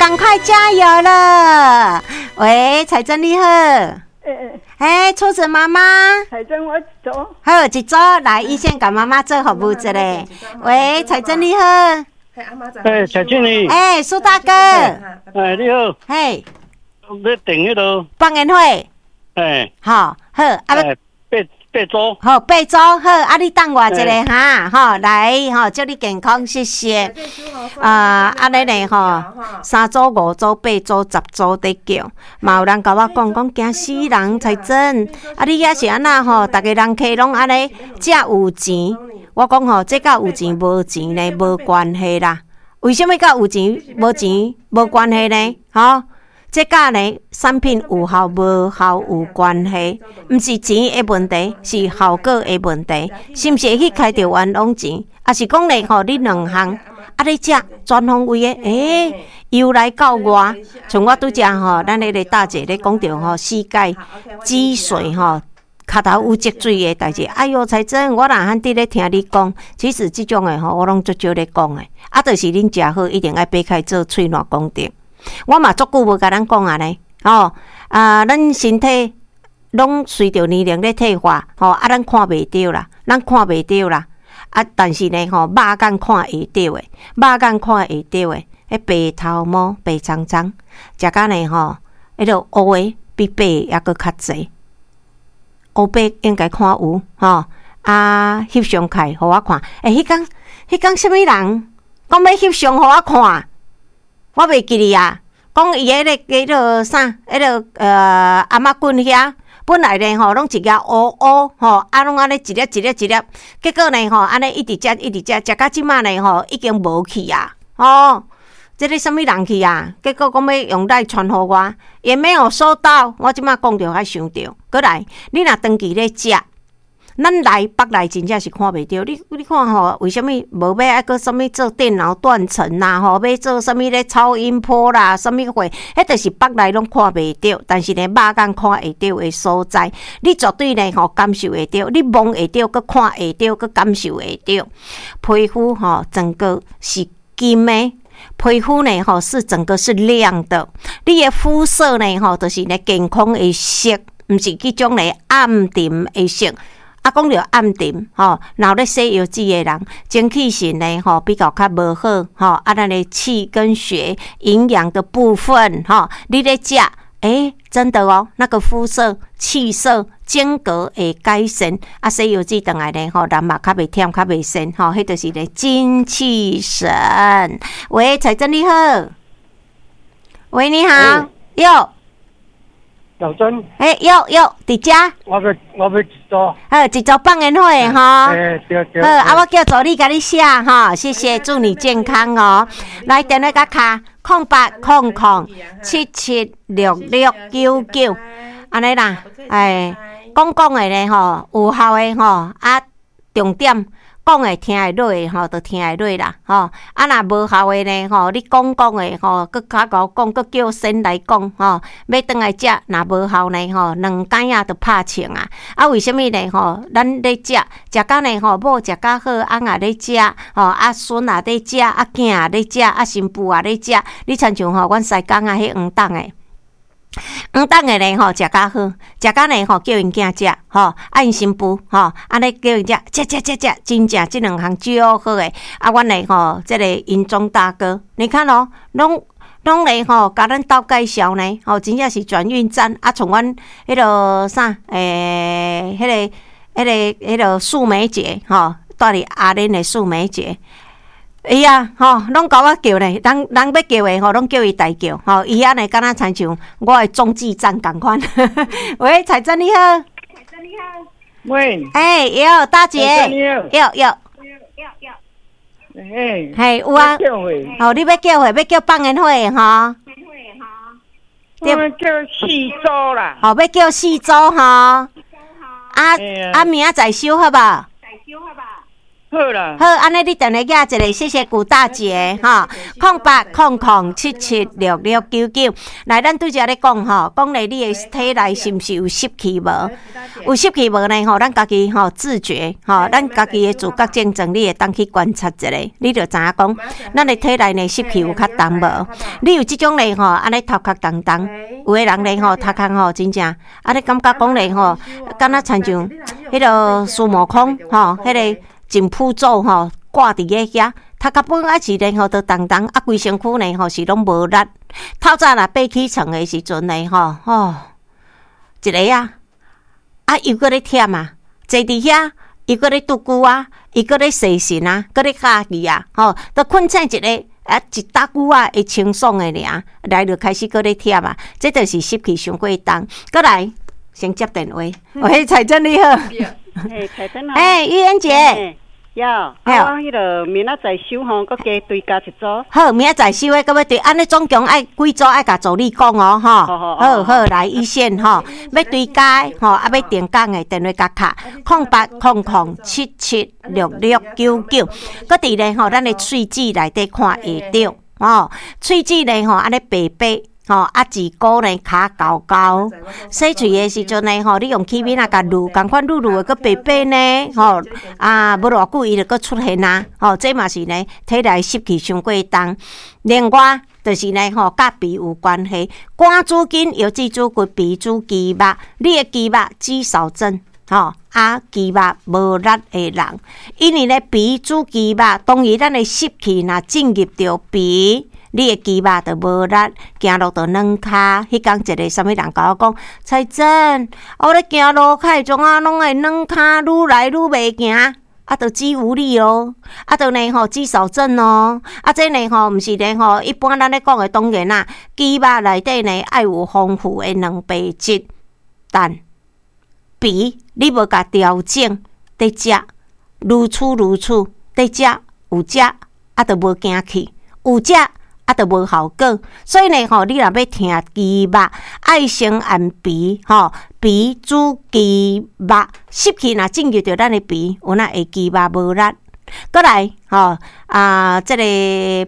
趕快加油了！喂，彩珍你好。欸。欸，初子媽媽。彩珍，我一組。好，一組來，醫生共媽媽做服務一下。喂，彩珍你好。欸，彩珍你。欸，蘇大哥。欸，你好。嘿。欲訂彼个。放煙火。欸。好，好，啊。八組。好，八組好，啊，你等我一下哈，吼，來，吼，祝你健康，謝謝。啊，按呢呢吼，三組、五組、八組、10組佇叫，嘛有人共我講，講驚死人，彩珍，啊，你遐是按怎吼？逐家人客攏按呢，遮有錢。我講吼，這佮有錢無錢呢無關係啦。為啥物佮有錢無錢無關係呢？吼？這佮呢產品有效無效有關係，毋是錢的問題，是效果的問題。是毋是會去開著冤枉錢？抑是講咧吼，你兩項啊，你食全方位的，欸，由內到外，像我拄則吼，咱彼个大姐咧講著吼，膝蓋積水吼，跤頭有積水的代誌。哎喲，彩珍，我若罕佇咧聽你講，其實這種的吼，我攏足少咧講的。啊，就是恁食好，一定愛擘開做喙瀾講著。我嘛足久無共咱講按呢，吼啊，咱身體攏隨著年齡咧退化，吼啊，咱看袂著啦，咱看袂著啦，啊，但是呢，吼，肉眼看會著的，肉眼看會著的，彼白頭毛白蒼蒼，食甲呢吼，彼个烏的比白的猶閣較濟，烏白應該看有吼，啊，翕相開予我看，欸，彼工啥物人講欲翕相予我看？我袂記得啊，講伊彼个叫做啥？彼个頷仔棍遐，本來呢吼，攏一額烏烏吼，啊攏按呢一粒一粒一粒，結果呢吼，按呢一直食一直食，食到這馬呢吼，已經無去啊，吼，這个啥物人去啊？結果講欲用 LINE 傳予我，也沒有收到。我這馬講著才想著，閣來，你若長期咧食。咱內腹內真正是看袂著，你看吼，為啥物無欲愛閣啥物做電腦斷層啦？吼，欲做啥物咧超音波啦？啥物貨？彼就是腹內攏看袂著，但是呢，肉眼看會著的所在，你絕對呢吼感受會著，你摸會著，閣看會著，閣感受會著。皮膚吼，整個是金的。皮膚呢吼是整個是亮的，你的膚色呢吼就是呢健康的色，毋是彼種呢暗沉的色。啊，講著暗沉吼，若有咧洗藥水的人，精氣神呢吼比較較無好吼。啊，咱的氣跟血營養的部分吼，你咧食，欸，真的哦，那個膚色、氣色、整個會改善。啊，洗藥水轉來呢吼，人嘛較袂忝，較袂癬吼，彼就是咧精氣神。喂，彩珍你好，喂，你好，喲。小珍，欸，喲喲，佇遮。我欲一組。好，一組放煙火吼。欸，對對。好，啊，我叫助理共你寫吼，謝謝，祝你健康哦。來，電話共敲0800776699，按呢啦，欸，講講的呢吼，有效的吼，啊，重點。講會聽會落的吼，就聽會落啦，吼。啊，若無效的呢，吼，你講講的吼，閣較𠢕講，閣叫先來講，吼，欲轉來食，若無效呢，吼，兩工仔就拍槍啊。啊，為啥物呢？吼，咱咧食，食甲呢，吼，某食較好，翁也咧食，吼，啊，孫也咧食，啊，囝也咧食，啊，新婦也咧食。你親像吼，阮西港仔彼黃董的。黃董的呢吼，食較好，食甲呢吼，叫𪜶囝食吼，啊𪜶新婦吼，按呢叫𪜶食，食食食食，真正這兩項足好的。啊，阮的吼，這個銀鐘大哥，你看哦，攏攏咧吼，共咱鬥介紹呢，吼，真正是轉運站啊，像阮彼个啥，欸，彼個素梅姐吼，住佇阿蓮的素梅姐。伊啊，吼，攏共我叫咧，人人欲叫的吼，攏叫伊代叫，吼，伊按呢敢若親像我的中繼站仝款。喂，彩珍你好。彩珍你好。喂。欸，喲，大姐。喲喲。嘿。嘿，有啊。哦，你欲叫貨，欲叫放煙火的吼。我叫四組啦。哦，欲叫四組吼。啊啊，明仔載收好無？好啦。好，按呢你電話寄一个，謝謝古大姐吼，0800776699。來，咱拄才咧講吼，講咧你的體內是毋是有濕氣無？有濕氣無呢？吼，咱家己吼自覺吼，咱家己的自覺症狀，你會當去觀察一下，你就知影講，咱的體內呢濕氣有較重無？你有這種咧吼，按呢頭殼重重，有的人咧吼頭殼吼真正，按呢感覺講咧吼，敢若親像彼个孫悟空吼，彼个淨普咒吼掛佇咧遐，頭殼本來是咧吼都重重，啊規身軀呢吼是攏無力。透早若爬起床的時陣呢吼，吼一个啊，啊又閣咧忝啊，坐佇遐又閣咧拄久啊，又閣咧踅神啊，閣咧敲機啊，吼，都睏醒一个啊一搭久啊會清爽的爾，來就開始閣咧忝啊，這就是濕氣傷過重。閣來先接電話，喂，彩珍你好。欸，彩珍啊。欸，玉恩姐。呀，啊，我彼个明仔載收吼，閣加追加一組。好，明仔載收的，閣欲追，按呢總共愛幾組愛共助理講哦，吼。好好來一線吼，欲追加的吼，啊欲定工的電話共敲0800776699。閣佇咧吼，咱的喙舌內底看會著吼，喙舌咧吼，按呢白白。吼，啊，舌骨呢跤厚厚，洗喙的時陣呢，吼，你用起面仔共滷，仝款滷滷的閣白白呢，吼，啊，無偌久伊就閣出現啊，吼，這嘛是呢，體內濕氣傷過重。另外，就是呢，吼，佮鼻有關係，肝主筋，腰子主骨，鼻主肌肉，你的肌肉肌少症，吼，啊，肌肉無力的人，因為呢，鼻主肌肉，當然咱的濕氣若進入著鼻。你的肌肉就無力，行路就軟跤。彼工一个啥物人共我講，彩珍，我咧行路較會怎啊，攏會軟跤，愈來愈袂行，啊，就肌無力哦，啊，就呢吼肌少症哦，啊，這呢吼毋是呢吼，一般咱咧講的當然啦，肌肉內底呢愛有豐富的蛋白質，但鼻你無共調整，佇食，如此如此，佇食有食，啊，就無行去，有食。啊，就無效果，所以呢，吼，你若欲疼肌肉，愛先按鼻，吼，鼻主肌肉，濕氣若進入著咱的鼻，有哪會肌肉無力。閣來，吼啊，這個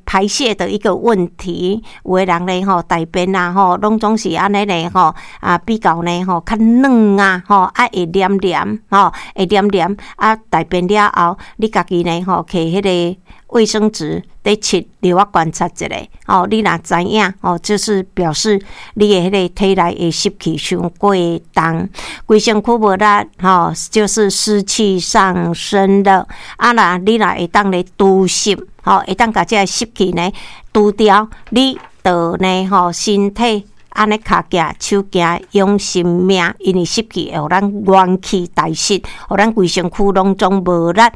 排泄的一個問題，有的人呢，吼，大便啊，吼，攏總是按呢呢，吼，啊，比較呢，吼，較軟啊，吼，啊，會黏黏，吼，會黏黏，啊，大便了後，你家己呢，吼，摕彼个衛生紙佇拭，留我觀察一下，吼，你若知影，吼，就是表示你的彼个體內的濕氣傷過重，規身軀無力，吼，就是濕氣上升了。啊，若你若會當咧除濕，吼，會當共這个濕氣呢除掉，你就呢，吼，身體按呢跤行手行養生命，因為濕氣會予咱元氣大失，予咱規身軀攏總無力。啊，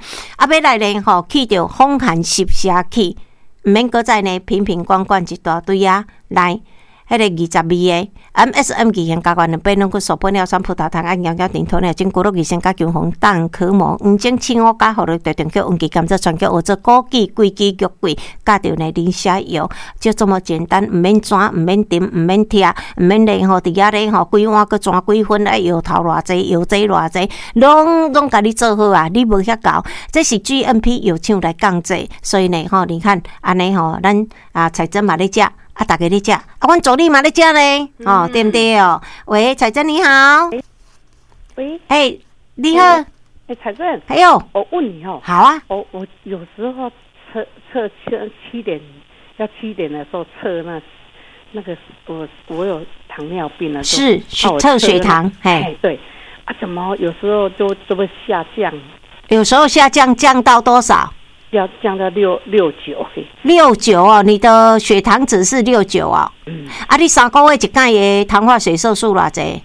欲來呢吼，去著風寒濕邪氣，毋免閣再呢瓶瓶罐罐一大堆啊，來。彼个22个 MSM 二型膠原蛋白、軟骨素、玻尿酸、葡萄糖胺、羊膠頂鴕鳥、筋骨露、二酰加強紅蛋殼膜、黃精、青烏加、胡蘿蔔、甜菊、黃芪、甘蔗、川芎、烏棗、枸杞、桂枝、玉桂，佮著呢磷蝦油，就這麼簡單，毋免轉，毋免沉，毋免拆，毋免咧吼，佇遐咧吼，規碗閣轉幾分，愛搖頭偌濟，搖這偌濟，攏攏共你做好啊！你無遐𠢕，這是 GMP 藥廠來降製，所以呢吼，你看按呢吼，咱啊彩珍嘛咧食。啊，逐家咧食，啊，阮助理嘛咧食咧，哦，對毋對哦？喂，彩珍你好。喂。欸，你好。欸，彩珍。哎喲。我問你哦。好啊。我有時候測測七點，要七點的時候測那個我有糖尿病了。是測血糖，嘿。對。啊，怎麼有時候就會下降？有時候下降降到多少？要降到六九。六九哦，你的血糖值是六九哦。嗯。啊，你3個月一擺的糖化血色素偌濟？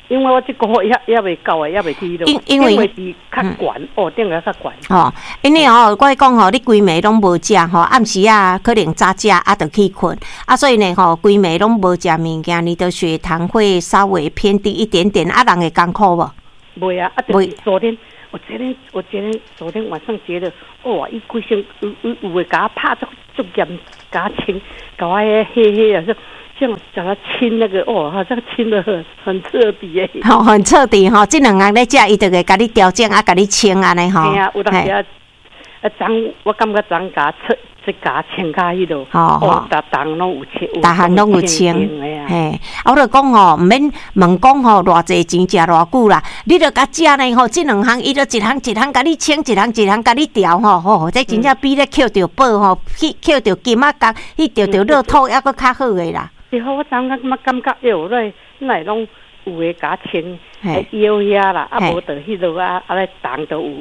因為我這個月猶未到啊，猶未去咯。因為是較懸哦，頂個較懸。哦，因為哦，我講吼，你規暝攏無食吼，暗時啊可能早食啊，就去睏啊，所以呢吼，規暝攏無食物件，你的血糖會稍微偏低一點點。啊，人會艱苦無？袂啊，啊，就是昨天。我昨天晚上覺得，哇！伊規身有有有的共我拍足足嚴，共我清，共我彼彼彼啊，說這樣叫他清那個，哦，好像清得很徹底耶。吼，很徹底吼，這兩項咧食，伊就會共你調整啊，共你清按呢吼。嘿啊，有當時啊，啊，昨我感覺昨共測，這共清較彼落，哦，逐項攏有清，逐項攏有清，嘿，啊，我就講吼，毋免問講吼，偌濟錢食偌久啦，你著共食呢吼，這兩項伊就一項一項共你清，一項一項共你調吼，吼，這真正比咧抾著寶吼，去抾著金仔角，去著著樂透猶閣較好的啦。對好，我昨昏感覺感覺喲，來攏有的共清，腰遐啦，啊無就彼落啊，啊咧重都有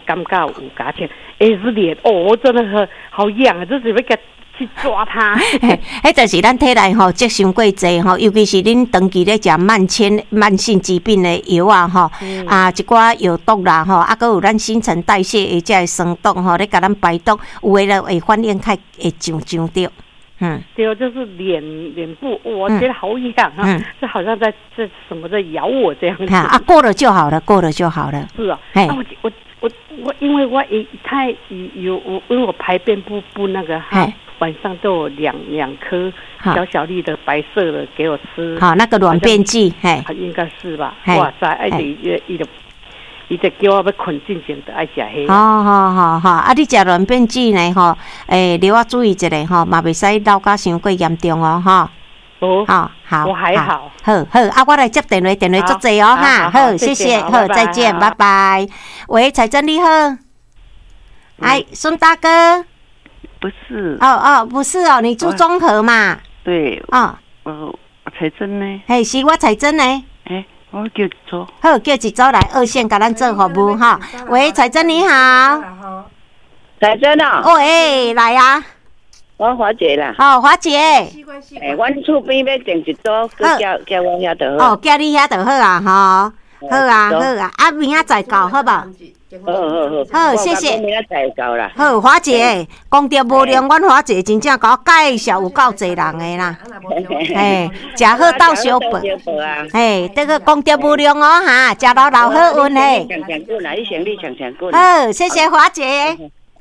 感覺有共清，欸是臉哦，我真的很好癢啊，就是欲共去抓它。嘿，彼就是咱體內吼積傷過濟吼，尤其是恁長期咧食慢性慢性疾病的藥啊吼，啊一寡藥毒啦吼，啊閣有咱新陳代謝的這个酸毒吼，咧共咱排毒，有的就會反應較會上上著。對，就是臉部，我覺得好癢啊，就好像在什麼在咬我這樣子。啊，過了就好了，過了就好了。是啊，啊我我我因為我一太有我因為我排便不那個哈，晚上都有兩顆小小粒的白色的給我吃。好，那個軟便劑，嘿，應該是吧？哇塞，哎，伊就伊就叫我欲睏進前就愛食彼。好好好好，啊，你食軟便劑呢？吼，欸，你要注意一下吼，嘛袂使老甲傷過嚴重哦，吼。哦，好，好，我還好。好好，啊，我來接電話，電話足濟哦，哈，好，謝謝，好，再見，拜拜。喂，彩珍你好，哎，孫大哥。不是。哦哦，不是哦，你住中和嘛？對。哦。我彩珍呢？嘿，是我彩珍呢。欸，我叫一組。好，叫一組來二線共咱做服務哈。喂，彩珍你好。彩珍啊。喂，來啊。我華姐啦。哦，華姐。欸，阮厝邊欲訂一組，閣寄我遐就好。哦，寄你遐就好啊，吼。好啊，好啊，啊，明仔載到，好無？好好好。好，謝謝。明仔載到啦。好，華姐，功德無量，阮華姐真正共我介紹有夠濟人的啦。嘿，食好鬥相報。嘿，這個功德無量哦，哈，食老老好運嘿。好，謝謝華姐。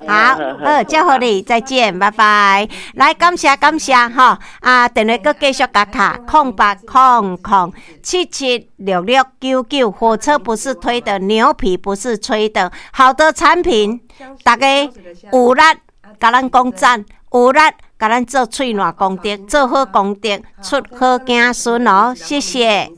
好，好，祝福你，再見，拜拜。來，感謝感謝吼，啊，電話閣繼續共敲，0800776699。火車不是推的，牛皮不是吹的，好的產品，大家有力共咱講讚，有力共咱做喙瀾功德，做好功德，出好子孫哦，謝謝。